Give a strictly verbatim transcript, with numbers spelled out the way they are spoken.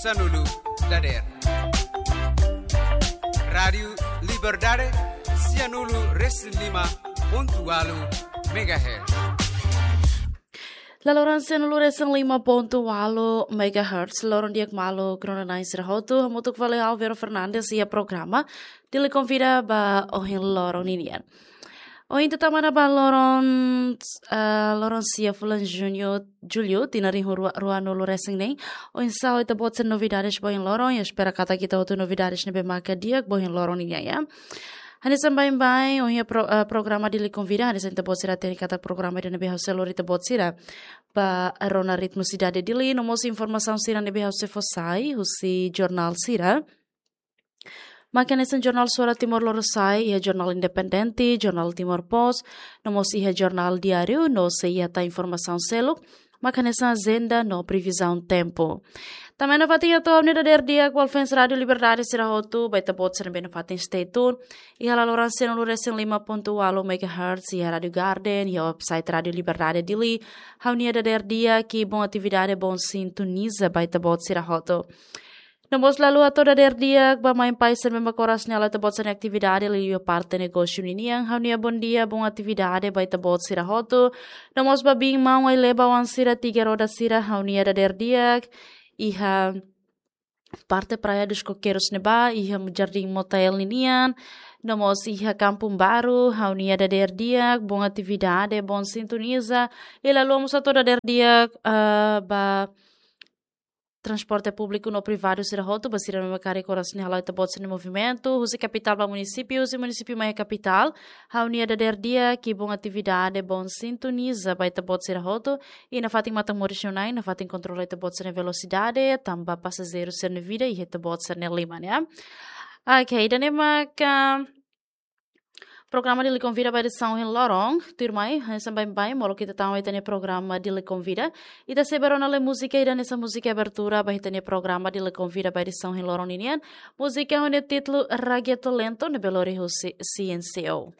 Sanulu dader. Rádiu Liberdade, sianulu resin lima pontu ualu megahertz. Laloran sianulu resin lima pontu ualu megahertz, loron di'ak malu, krona nai sira hotu, hamutuk fali ha'u Vero Fernandes iha programa Dili Konvida ba ohin loron ninian. Ohin ita tama ona ba loron, eh, loron sia fulan Juñu, Jullu, tinan rihun rua, ruanulu resin neen. Oinsá ita-boot sira novidades ba ohin loron, ha'u espera katak ita hotu novidades ne'ebé maka di'ak ba ohin loron ninian, ya. Hanesan baibain, ohin pro-, eh, programa Dili Konvida, hanesan ita-boot sira hatene katak programa ida ne'ebé ha'u sei lori ita-boot sira ba rona ritmu sidade Dili, no mós informasaun sira ne'ebé ha'u sei fó sai, husi jornál sira. Maka hanesan jornál Suara Timor Lorosa'e, iha jornál Independente, jornál Timor Post, no mós iha jornál Diáriu, no sei iha tan informasaun seluk, maka hanesan ajenda no previzaun tempu. Tanba iha nafatin atu ha'u-nia dadeer di'ak ba fans Rádiu Liberdade sira hotu, ba ita-boot sira ne'ebé nafatin stay tune iha laloran sianulu resin lima pontu ualu megahertz, iha Rádiu Garden, iha website Rádiu Liberdade Dili, ha'u-nia dadeer di'ak i bom atividade, bom sintoniza ba ita-boot sira hotu. No mós ha'u hato'o dadeer di'ak ba mãe pai sira ne'ebé mak oras ne'e halo ita-boot sira-nia atividade liuliu parte negósiu ninian, ha'u-nia bom dia, bom atividade ba ita-boot sira hotu. No mós ba biin maun ai-leba oan sira tiga roda sira, ha'u-nia dadeer di'ak. Iha parte Praia dos Coqueiros ne'ebá, iha Jardim Motael ninian, no mós iha Kampung Baru, ha'u-nia dadeer di'ak, bom atividade, bom sintoniza. I ha'u mós hato'o dadeer di'ak, eh, ba transporte públiku no privadu sira hotu, ba sira ne'ebé mak karik oras ne'e hala'o ita-boot sira-nia movimentu, husi kapitál ba munisípiu, husi munisípiu mai iha kapitál, ha'u-nia dadeer di'ak, i bom atividade, bom sintoniza ba ita-boot sira hotu, i nafatin matan-moris nia oin, nafatin kontrola ita-boot sira-nia velosidade, tanba pasajeiru sira-nia vida iha ita-boot sira-nia liman, ya. Ok, ida-ne'e maka programa Dili Konvida ba edisaun ohin loron, tuirmai, hanesan baibain, molok ita tama ba ita-nia programa Dili Konvida, ita sei bá rona lai múzika ida hanesan múzika abertura ba ita-nia programa Dili Konvida ba edisaun ohin loron ninian, múzika ho nia títulu Reggaeton Lento, ne'ebé lori husi C N C O.